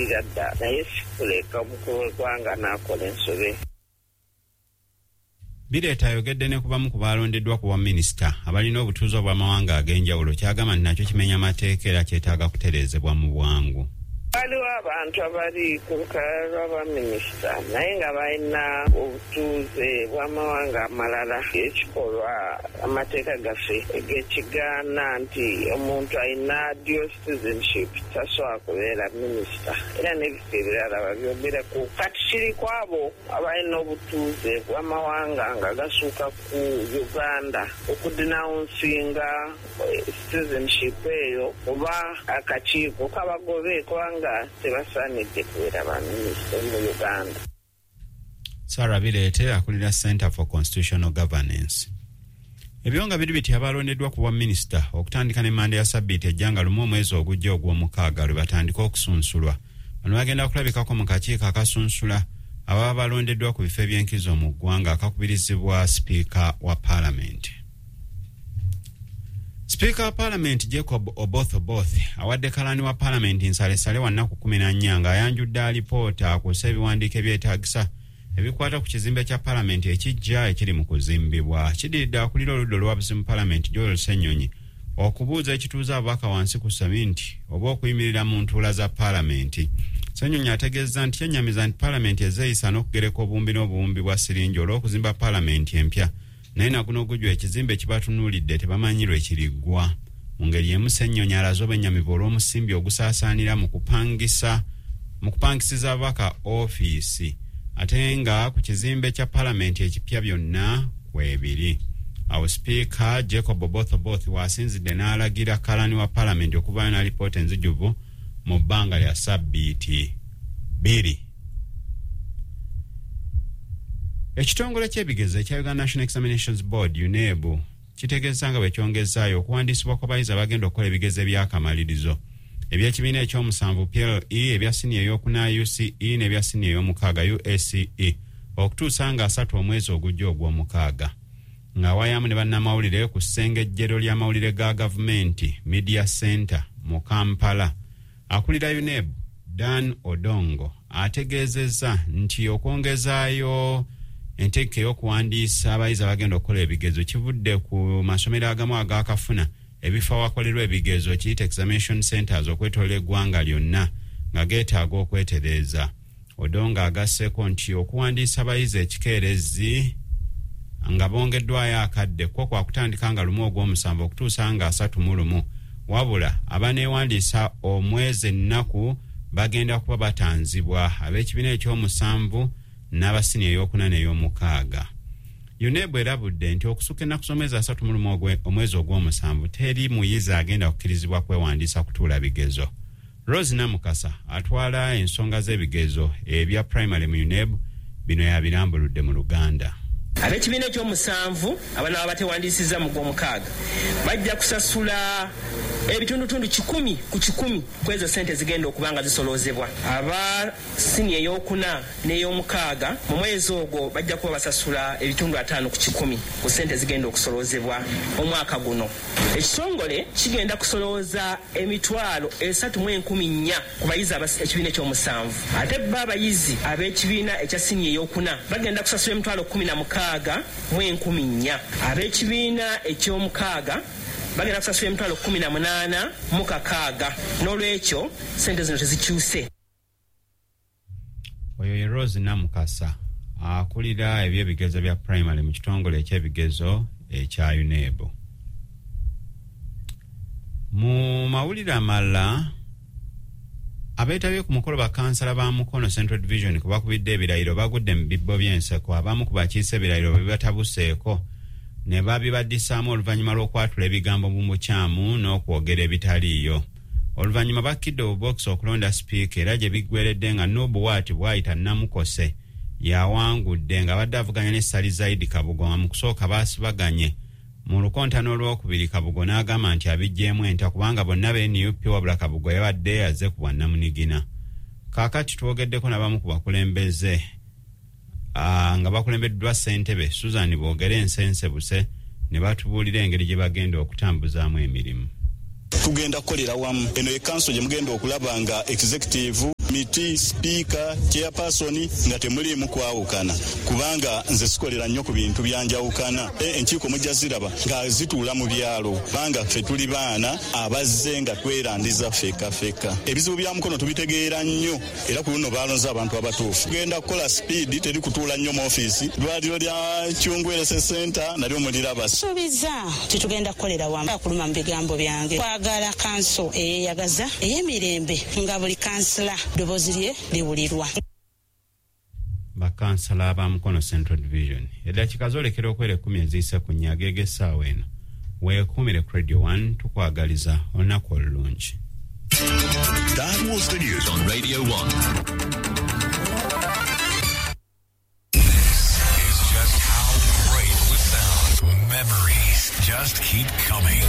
Namalira dda, naye sikuleka omukulu w'eggwanga n'akola ensobe. Bireeta ayogedde ne ku bamu ku baalondeddwa ku bwaminisita abalina obutuuze obw'amawanga ag'enjawulo, ky'agamba nti nakyo kimenya mateeka era kyetaaga kutereezebwa mu bwangu. Waliwo abantu abali ku lukalala lw'abaminisita naye nga balina obutuuze bw'amawanga amalala, ekikolwa amateeka gaffe gekigaana nti omuntu alina dual citizenship tasobola kubeera minisita, era n'ebifo ebirala babyogerako. Kati kiri ku abo abalina obutuuze bw'amawanga nga gasuuka ku Uganda okudenouncinga citizenship eyo oba akakiiko kabagobe, kubanga tebasaanidde kubeera baminisita mu Uganda. Sarah Bireete akulira Center for Constitutional Governance. Ebyo nga biri biti, abalondeddwa ku bwaminisita okutandika ne manda ya sabbiiti ejja nga 1 omwezi ogujja ogw'omukaaga lwe batandika okusunsulwa. Bano bagenda kulabikako mu kakiiko akasunsula ababa balondeddwa ku bifo ebyenkizo mu ggwanga akakubirizibwa sipiika wa paalamenti. Sipiika wa paalamenti Jacob Oboth Oboth awadde kalani wa paalamenti nsalesale wa nnaku 14 ng'ayanjudde alipoota akuusa ebiwandiiko ebyetaagisa ebikwata ku kizimbe kya paalamenti ekijja ekiri mu kuzimbibwa. Kidiridde akulira oludda oluwabuzi mu paalamenti Joel Ssenyonyi okubuuza ekituuza ababaka wansi ku seminti oba okuyimirira mu ntuula za paalamenti. Ssenyonyi ategeezza nti kyennyamiza nti paalamenti ezeeyisa n'okugereka obuwumbi n'obuwumbi bwa siringi olw'okuzimba paalamenti empya, naye naguno gujwa ekizimbe kibatunuulidde tebamanyi lwe kiriggwa. Mu ngeri emu Ssenyonyi alaze obwennyamivu olw'omusimbi ogusaasaanira mu kupangisiza ababaka ofiisi, ate nga ku kizimbe kya paalamenti ekipya byonna kwebiri. Awo sipiika Jacob Oboth Oboth waasinzidde n'alagira kalani wa paalamenti okuvaayo n'alipoota enzijuvu mu bbanga lya sabbiiti 2. Ekitongole ky'ebigezo ekya Uganda National Examinations Board UNEB kitegeeza nga bwe kyongezaayo okuwandiisibwa kw'abayizi abagenda okukola ebigezo eby'akamalirizo eby'ekibiina ekyomusanvu PLE, ebya siniya ey'okuna UCE n'ebya siniya ey'omukaaga UACE okutuusa nga 3 omwezi ogujja ogw'omukaaga. Ng'awayamu ne bannamawulire ku ssengejjero ly'amawulire ga gavumenti Media Center mu Kampala, akulira UNEB Dan Odongo ategeezezza nti okwongezaayo entegeka ey'okuwandiisa abayizi abagenda okukola ebigezo kivudde ku masomero agamu agakafuna ebifo awakolerwa ebigezo kiyite examination centers okwetoola eggwanga lyonna nga geetaaga okwetereeza. Odongo agasseeko nti okuwandiisa abayizi ekikeerezi nga bongeddwayo akadde kwo kwakutandika nga 1 ogw'omusanvu okutuusa nga 31, wabula abaneewandiisa omwezi ennaku bagenda kuba batanzibwa ab'ekibiina ekyomusanvu n'abasiniya ey'okuna n'ey'omukaaga. UNEB erabudde nti okusukka ennaku z'omwezi 31 omwezi ogw'omusanvu teri muyizi agenda kukkirizibwa kwewandiisa kutuula bigezo. Rose Namukasa atwala ensonga z'ebigezo ebya primary mu UNEB bino yabirambuludde mu Luganda. Ab'ekibiina ekyomusanvu abanaaba batewandiisizza mu gw'omukaaga bajja kusasula ebitundutundu 100 ku 100 ku ezo ssente zigenda okuba nga zisoloozebwa. Aba siniya ey'okuna n'ey'omukaaga mu mwezi ogwo bajja kuba basasula ebitundu 5 ku 100 ku ssente zigenda okusoloozebwa omwaka guno. Ekitongole kigenda kusolooza emitwalo 304,000 ku bayizi ekibiina ekyomusanvu, ate bo abayizi ab'ekibiina ekya siniya ey'okuna bagenda kusasula emitwalo 16,400. Ab'ekibiina eky'omukaaga bagenda kusasula emitwalo 18,600. N'olwekyo ssente zino tezikyuse. Oyo ye Rose Namukasa akulira ebyebigezo bya primary mu kitongole ekyebigezo ekya UNEB. Mu mawulire amalala, abeetabye ku mukolo bakansala ba Mukono Central Division ku bakubidde ebirayiro bagudde mu bibbo by'enseko. Abamu ku bakiise ebirayiro bwe batabuseeko ne babibaddisaamu oluvannyuma lw'okwatula ebigambo mu bukyamu n'okwogera ebitaliiyo. Oluvannyuma bakkidde obubokisi okulonda sipiika era gye biggweredde nga Nubu Waati bw'ayita Namukose yawangudde ng'abadde avuganya ne Ssali Zaidi Kabugo, nga mu kusooka baasibaganye mu lukontano olwokubiri. Kabugo n'agamba nti abiggyeemu enta kubanga bonna ba NUP, wabula Kabugo yabadde azze ku bwannamunigina. Kaakati twogeddeko n'abamu ku bakulembeze nga bakulembeddwa ssentebe Susan Boogere Ensensebuse ne batubuulira engeri gye bagenda okutambuzaamu emirimu. Tugenda kukolera wamu. Eno ye kanso gye mugenda okulaba nga executive, Komiti, sipiika, chairperson nga temuliimu kwawukana, kubanga nze sikolera nnyo ku bintu byanjawukana. Enkiiko mujja ziraba nga zituula mu byalo, kubanga ffe tuli baana abazze nga twerandiza ffekka ffekka. Ebizibu bya Mukono tubitegeera nnyo, era ku luno balonze abantu abatuufu. Tugenda kukola sipiidi, teri kutuula nnyo mu ofiisi. Ddwaliro lya Kyungu Health Center nalyo muliraba. Suubiza titugenda kukolera wamu akuluma mu bigambo byange. Twagala kanso eyeyagaza ey'emirembe nga buli kansila ddoboozi lye liwulirwa. Bakansala ba Mukono Central Division. Eddakiika zoolekera okwera 10 eziyise ku nnya ageega essaawa eno. Weekuumire ku Radio 1, tukwagaliza olunaku olulungi. That was the news on Radio 1. This is just how great we sound. Memories just keep coming.